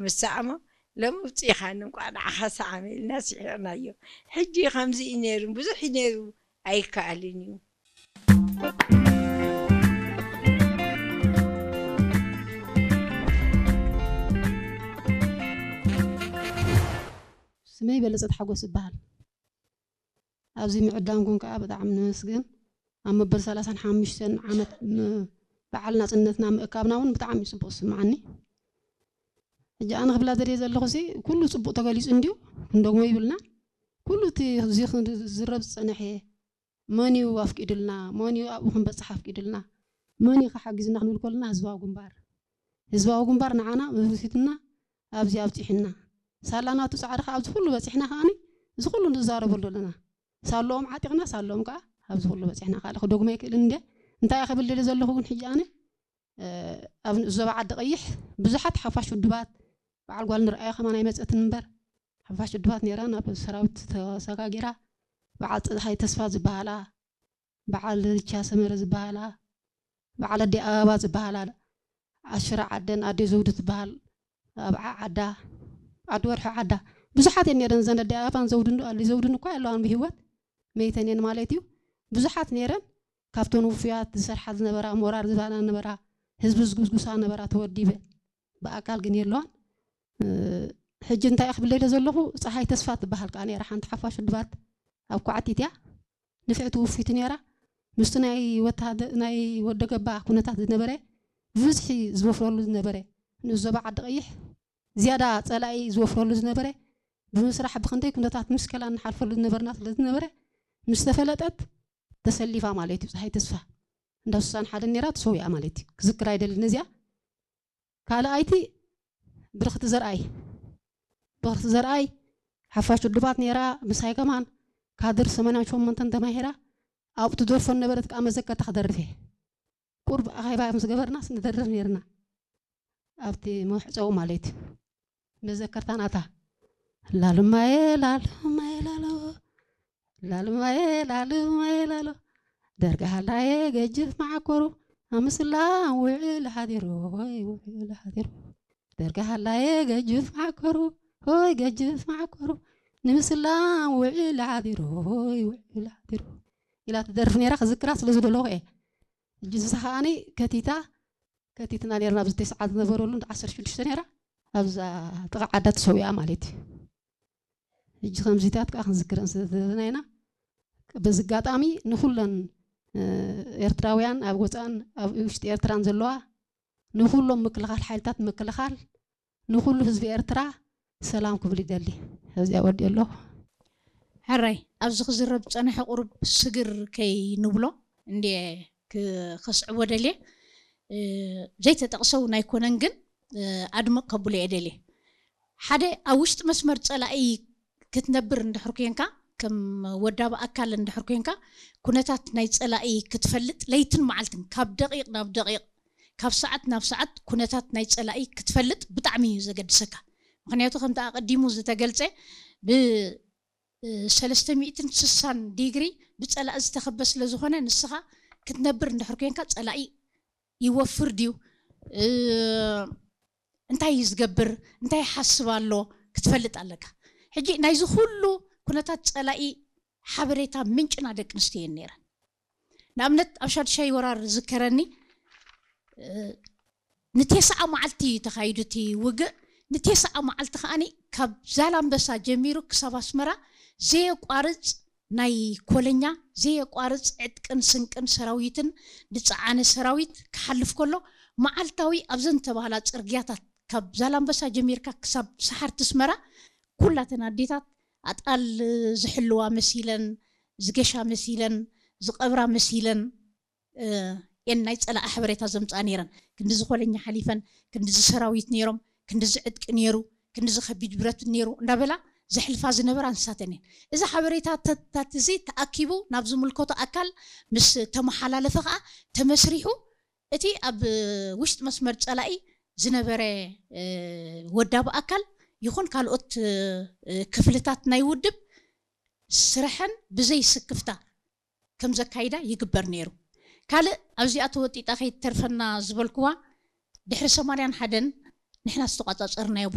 ምስ ሰዓሞ፣ "ሎሚ ውፅኢኻኒ፣ እንቋዕ ንዓኻ ሰዓመ" ኢልና ስሒቕናዮ። ሕጂ ከምዚ እዩ ነይሩ፣ ብዙሕ እዩ ነይሩ፣ ኣይከኣልን እዩ። ስመይ በለጸት ሓጎስ እበሃል። ኣብዚ ምዕዳምኩም ከዓ ብጣዕሚ ነመስግን። ኣብ መበል ሰላሳን ሓሙሽተን ዓመት ም-፣ በዓል ናጽነትና ምእካብና እውን ብጣዕሚ እዩ ጽቡቕ ዝስምዓኒ። ሕጂ ኣነ ክብላ ዘድየ ዘለኹ ሲ፣ ኩሉ ጽቡቕ ተገሊጹ እንድዩ፣ ክንደግሞ ይብልና። ኩሉ እቲ እዚ ክዝረብ ዝጸንሐ፣ መን እዩ ኣፍቂዱልና፣ መን እዩ ኣብኡ ክንበጽሕ ኣፍቂዱልና፣ መን እዩ ክሓግዝና ክንብል ከለና ህዝባዊ ግንባር። ህዝባዊ ግንባር ንዓና መብርሂትና ኣብዚ ኣብጺሑና። ሳላ ናቱ ጻዕሪ ከኣ ኣብዚ ኩሉ በጺሕና ከኣኒ፣ እዚ ኩሉ ንዛረበሉ ኣለና። ሳለኦም ዓጢቕና፣ ሳለኦም ከኣ ኣብዚ ኩሉ በጺሕና። ካልእ ክደግሞ ኣይክእልን እንደ። እንታይ እየ ክብል ደሊ ዘለኹ ግን ሕጂ ኣነ፣ እ፣ ኣብ ዞባ ዓዲ ቀይሕ ብዙሓት ሓፋሽ ውድባት፣ በዓል ጓል ንርኣያ ከማን ኣይመጸትን እምበር፣ ሓፋሽ ውድባት ነይራ፣ ናብ ሰራዊት ተሰጋጊራ፣ በዓል ፀሓይ ተስፋ ዝበሃላ፣ በዓል ርቻ ሰመረ ዝበሃላ፣ በዓል ኣዲ ኣበባ ዝበሃላ፣ ኣሽራ ዓደን ኣዲ ዘውዱ ትበሃል፣ ኣብ ዓ-፣ ዓዳ፣ ዓዲ ወርሒ ዓዳ፣ ብዙሓት እየን ነይረን። እዘን ኣዲ ኣበባን ዘውዱን፣ ኣዲ ዘውዱን እኳ ኣለዋን ብህይወት፣ መይተን እየን ማለት እዩ። ብዙሓት ነይረን፣ ካብተን ውፉያት ዝሰርሓ ዝነበራ፣ ሞራር ዝባና ነበራ፣ ህዝቢ ዝጉስጉሳ ነበራ፣ ተወዲበ። ብኣካል ግን የለዋን። እ፣ ሕጂ እንታይ እየ ክብል ኢለ ዘለኹ፣ ፀሓይ ተስፋ ትበሃል ከኣ ነይራ፣ ሓንቲ ሓፋሽ ውድባት ኣብ ኳዕቲት እያ። ንፍዕቲ ውፊቲ ነይራ። ምስቲ ናይ ወተሃደ-፣ ናይ ወደገባ ኩነታት ዝነበረ፣ ብብዝሒ ዝወፍረሉ ዝነበረ፣ ንዞባ ዓዲ ቀይሕ ዝያዳ ጸላኢ ዝወፍረሉ ዝነበረ፣ ብምስራሕ ብኽንደይ ኩነታት ምስከላ እንሓልፈሉ ዝነበርና ስለ ዝነበረ፣ ምስ ተፈለጠት ተሰሊፋ ማለት እዩ። ፀሓይ ተስፋ እንዳ ሱሳን ሓደ ነይራ፣ ተሰዊኣ ማለት እዩ። ክዝክር ኣይደልን እዚኣ። ካልኣይቲ ብርኽቲ ዘርኣይ፣ ብርኽቲ ዘርኣይ ሓፋሽ ውድባት ነይራ፣ ምሳይ ከማን ካድር ሰማንያን ሸሞንተን ተማሂራ፣ ኣብኡ ትደርፎ ነበረት ከኣ መዘከርታ ክደርፍ እየ። ቁርብ ኣኼባ ምስ ገበርናስ ንደርፍ ነይርና። ኣብቲ መሕጸዊ ማለት እዩ። መዘከርታ ናታ። ላልማየ፣ ላልማየ፣ ላሎ። ላልማየ፣ ላልማየ፣ ላሎ። ደርጋሃላየ ገጅፍ መዓኮሩ። ኣምስላ ውዕል ሓዲሩ፣ ወይ ውዕል ሓዲሩ። ደርጋሃላየ ገጅፍ መዓኮሩ፣ ወይ ገጅፍ መዓኮሩ። ንምስላ ውዕል ሓዲሩ፣ ወይ ውዕል ሓዲሩ። ኢላ ትደርፍ ነይራ፣ ክዝክራ ስለ ዝደለኹ እየ። ሕጂ ንሳ ከኣኒ ከቲታ፣ ከቲትና ነይርና፣ ኣብዚ ተስዓ ዝነበረሉ እንዳ ዓሰርተ ሽዱሽተ ነይራ፣ ኣብዛ ጥቓ ዓዳ ተሰዊኣ ማለት እዩ። ሕጂ ከምዚታት ከዓ ክንዝክረን ስለ ዘለና ኢና። በዚ ኣጋጣሚ ንኹለን፣ እ፣ ኤርትራውያን ኣብ ወፃእን ኣብ ውሽጢ ኤርትራን ዘለዋ፣ ንኹሎም ምክልኻል፣ ሓይልታት ምክልኻል፣ ንኹሉ ህዝቢ ኤርትራ ሰላም ክብል ይደሊ። ኣብዚኣ ወዲኦ ኣለኹ። ሕራይ፣ ኣብዚ ክዝረብ ዝጸንሐ ቁሩብ ስግር ከይንብሎ እንድየ ክ-፣ ከስዕቦ ደልየ። እ፣ ዘይተጠቕሰ እውን ኣይኮነን፣ ግን፣ እ፣ ኣድምቕ ከብሎ እየ ደልየ። ሓደ፣ ኣብ ውሽጢ መስመር ጸላኢ ክትነብር እንድሕር ኮንካ፣ ከም ወዳቢ ኣካል እንድሕር ኮንካ፣ ኩነታት ናይ ጸላኢ ክትፈልጥ ለይትን መዓልትን፣ ካብ ደቂቕ ናብ ደቂቕ፣ ካብ ሰዓት ናብ ሰዓት ኩነታት ናይ ጸላኢ ክትፈልጥ ብጣዕሚ እዩ ዘገድሰካ። ምኽንያቱ ከምቲ ኣቐዲሙ ዝተገልጸ፣ ብ-፣ እ፣ ሰለስተ ሚእትን ስሳን ዲግሪ ብጸላኢ ዝተኸበ ስለ ዝኾነ፣ ንስኻ ክትነብር እንድሕር ኮንካ ጸላኢ ይወፍር ድዩ? እ፣ እንታይ እዩ ዝገብር? እንታይ ይሓስብ ኣሎ? ክትፈልጥ ኣለካ። ሕጂ ናይዚ ኩሉ ኩነታት ጸላኢ ሓበሬታ ምንጭና ደቂ ኣንስትዮ እየን ነይረን። ንኣብነት ኣብ ሻድሻይ ወራር ዝከረኒ፣ እ፣ ንቴስዓ መዓልቲ እዩ ተኻይዱ እቲ ውግእ። ንቴስዓ መዓልቲ ከኣኒ ካብ ዛላምበሳ ጀሚሩ ክሳብ ኣስመራ ዘየቋርጽ ናይ ኮለኛ፣ ዘየቋርጽ ዕጥቅን ስንቅን ሰራዊትን ዝጸዓነ ሰራዊት ክሓልፍ ከሎ፣ መዓልታዊ ኣብዘን ዝተባህላ ጽርግያታት ካብ ዛላምበሳ ጀሚርካ ክሳብ ሰሓርቲ ኣስመራ፣ ኩላተን ኣዴታት ኣጣል ዝሕልዋ መሲለን፣ ዝገሻ መሲለን፣ ዝቐብራ መሲለን፣ እ፣ እየን ናይ ጸላኢ ሓበሬታ ዘምጽኣ ነይረን። ክንድዚ ኮለኛ ሓሊፈን፣ ክንድዚ ሰራዊት ነይሮም፣ ክንድዚ ዕጥቂ ነይሩ፣ ክንድዚ ከቢድ ብረት ነይሩ እንዳበላ ዘሕልፋ ዝነበራ ንሳተን እየን። እዚ ሓበሬታታት እዚ ተኣኪቡ ናብ ዝምልከቶ ኣካል ምስ ተመሓላለፈ ከኣ ተመስሪሑ እቲ ኣብ ውሽጢ መስመር ጸላኢ ዝነበረ፣ እ፣ ወዳቢ ኣካል ይኹን ካልኦት፣ እ፣ ክፍልታት ናይ ውድብ ስረሐን ብዘይ ስክፍታ ከም ዘካይዳ ይግበር ነይሩ። ካልእ ኣብዚኣ ተወጢጣ ከይትተርፈና ዝበልክዋ፣ ድሕሪ ሰማንያን ሓደን ንሕና ዝተቋጻጸርናዮ